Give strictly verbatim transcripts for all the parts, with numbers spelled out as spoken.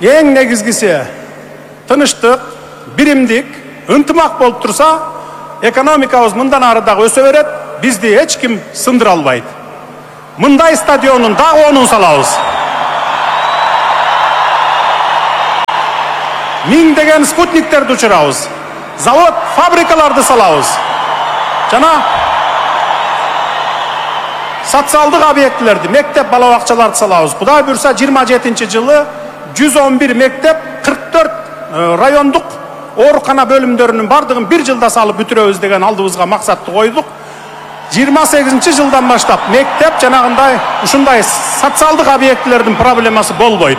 эң негизгиси тынычтык, биримдик, ынтымак болуп турса, экономикабыз мындан ары дагы өсө берет, бизди эч ким сындыра албайт. Мындай стадионун дагы онун салабыз. Миңдеген спутниктерди учурабыз. Завод, фабрикаларды салабыз. Жана социалдык объектилерди, мектеп, бала бакчаларды салабыз. Кудай буйрса жыйырма жетинчи жылы жүз он бир мектеп, кырк төрт райондук оорукана бөлүмдөрүнүн бардыгын бир жылда салып бүтүрөбүз деген алдыбызга максатты койдук. жыйырма сегизинчи жылдан баштап мектеп жанагындай ушундай социалдык объектилердин проблемасы болбойт.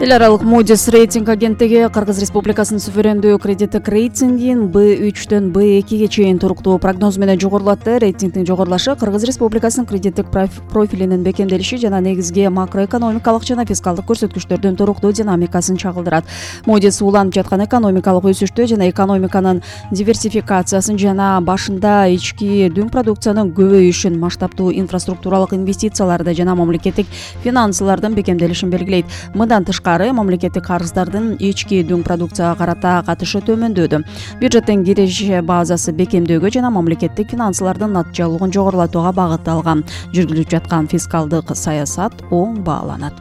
Эл аралык Moody's рейтинг агенттиги Кыргыз Республикасынын суверендүү кредиттик рейтингин Б үчтөн Б экиге чейин туруктуу прогноз менен жогорулатты. Рейтингдин жогорулашы Кыргыз Республикасынын кредиттик профилинин бекемделиши жана негизги макроэкономикалык жана фискалдык көрсөткүчтөрдүн туруктуу динамикасын чагылдырат. Moody's уланып жаткан экономикалык өсүштү жана экономиканын диверсификациясын жана башында ички дүң продукциянын көбөйүшүн, масштабтуу инфраструктуралык инвестицияларды жана мамлекеттик финансылардын бекемделишин белгилейт. Мындан тышкары мамлекеттик карыздардын ички дүң продукцияга карата катышы төмөндөдү. Бюджеттин кириш базасы бекемдөөгө жана мамлекеттик финансылардын натыйжалуулугун жогорулатууга багытталган. Жүргүзүлүп жаткан фискалдык саясат оң бааланат.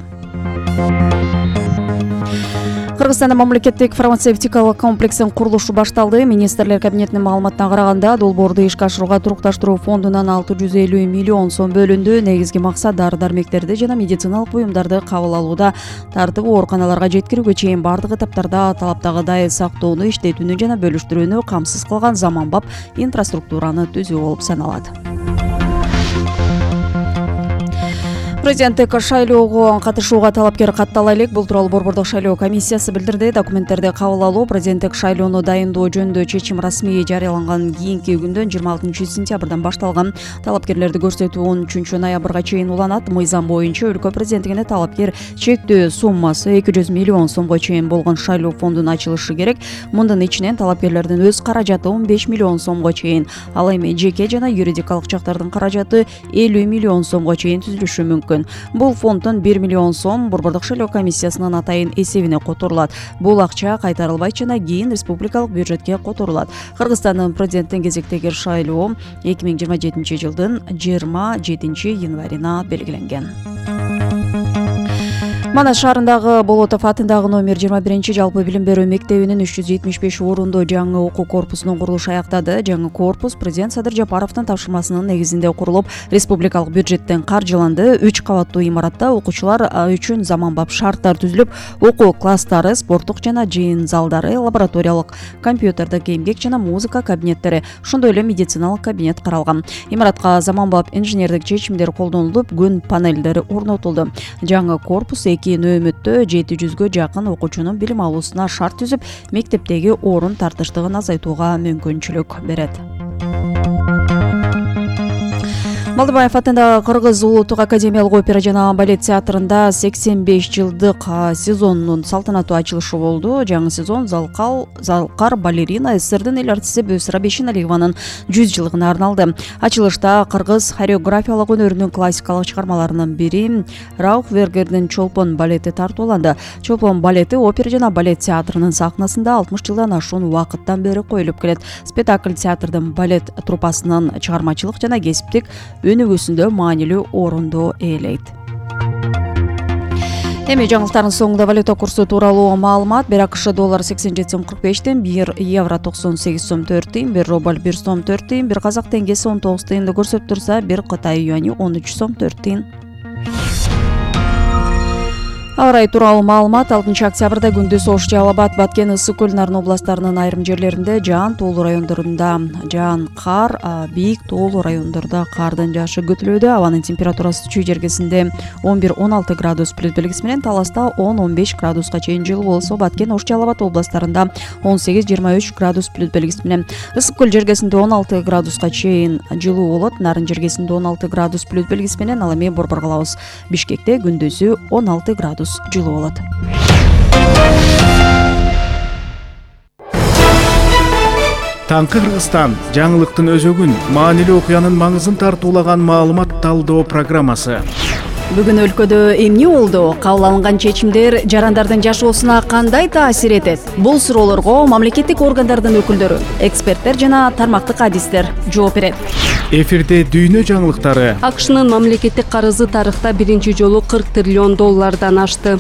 Кыргызстанда мамлекеттик фармацевтикалык комплексин курулушу башталды. Министрлер кабинетинин маалыматына караганда, долбоорду ишке ашырууга турукташтыруу фондунан алты жүз элүү миллион сом бөлүндү. Негизги максат дары-дармектерди жана медициналык буюмдарды кабыл алууда тартып ооруканаларга жеткирүүгө чейин бардык этаптарда талаптагыдай сактоону, иштетүүнү жана бөлүштүрүүнү камсыз кылган заманбап инфраструктураны түзүү болуп саналат. Президенттик шайлоого катышууга талапкер каттала элек. Бул тууралуу Борбордук шайлоо комиссиясы билдирди. Документтерди кабыл алуу президенттик шайлоону дайындоо жөнүндө чечим расмий жарыяланган кийинки күндөн жыйырма алтынчы сентябрдан башталган. Талапкерлерди көрсөтүү он үчүнчү ноябрга чейин уланат. Мыйзам боюнча өлкө президенттигине талапкер чектөө суммасы эки жүз миллион сомго чейин болгон шайлоо фондун ачылышы керек. Мундун ичинен талапкерлердин өз каражаты он беш миллион сомго чейин, ал эми жеке жана юридикалык жактардын каражаты элүү миллион сомго чейин түзүлүшү мүмкүн. Бул фонддон бир миллион сом Борбордук шайлоо комиссиясынын атайын эсебине которулат. Бул акча кайтарылбайт жана кийин республикалык бюджетке которулат. Кыргызстандын президенттин кезектеги шайлоо эки миң жыйырма жетинчи жылдын жыйырма жетинчи январына белгиленген. Манас шаарындагы Болотов атындагы номер жыйырма биринчи жалпы билим берүү мектебинин үч жүз жетимиш беш орунду жаңы окуу корпусунун курулушу аяктады. Жаңы корпус президент Садыр Жапаровдун тапшырмасынын негизинде курулуп, республикалык бюджеттен каржыланды. үч кабаттуу имаратта окуучулар үчүн заманбап шарттар түзүлүп, окуу класстары, спорттук жана жыйын залдары, лабораториялык, компьютердик эмгек жана музыка кабинеттери, ошондой эле медициналык кабинет каралган. Имаратка заманбап инженердик чечимдер колдонулуп, күн панелдери орнотулду. Жаңы корпус эки нөөмөттө жети жүзгө жакын окуучунун билим алуусуна шарт түзүп, мектептеги орун тартыштыгын азайтууга мүмкүнчүлүк берет. Малдыбаев атындагы Кыргыз улуттук академиялык опера жана балет театрында сексен беш жылдык сезонунун салтанаттуу ачылышы болду. Жаңы сезон залкал залкар балерина СССРдин эл артисти Бөйсара Бейшеналиеванын жүз жылдыгына арналды. Ачылышта кыргыз хореографиялык өнөрүнүн классикалык чыгармаларынын бири Раухвергердин Чолпон балети тартууланды. Чолпон балети опера жана балет театрынын сахнасында алтымыш жылдан ашуун убакыттан бери коюлуп келет. Спектакль театрдын балет труппасынын чыгармачылык жана кесиптик өнүгүүсүндө маанилүү орунду ээлейт. Эми жаңылыктардын соңунда валюта курсу тууралуу маалымат. Бир АКШ доллар сексен жети сом кырк беш тыйын, бир евро токсон сегиз сом төрт тыйын, бир рубль бир сом төрт тыйын, бир казак теңгеси он тогуз тыйынды көрсөтүп турса, бир Кытай юани он үч сом төрт тыйын. Аба ырайы тууралуу маалымат. алтынчы октябрда күндүз Ош, Жалал Абад, Баткен, Ысык көл, Нарын областарынын айрым жерлеринде жаан, тоолуу райондорунда жаан, кар, бийик тоолуу райондордо кардын жаашы күтүлүүдө. Абанын температурасы чүй жергесинде он бир он алты градус плюс белгиси менен, Таласта он он беш градуска чейин жылуу болсо, Баткен, Ош, Жалал Абад областарында он сегиз жыйырма үч градус плюс белгиси менен, Ысык көл жергесинде он алты градуска чейин жылуу болот. Нарын жергесинде он алты градус плюс белгиси менен, ал эми борбор калабыз. Бишкекте күндүзү он алты градус жылуу болот. Таңкы Кыргызстан жаңылыктын өзөгүн, маанилүү окуянын маңызын тартуулаган маалымат талдоо программасы. Бүгүн өлкөдө эмне болду? Кабыл алынган чечимдер жарандардын жашоосуна кандай таасир этет? Бул суроолорго мамлекеттик органдардын өкүлдөрү, эксперттер жана тармактык адистер жооп берет. Эфирде дүйнө жаңылыктары. АКШнын мамлекеттик карызы тарыхта биринчи жолу кырк триллион доллардан ашты.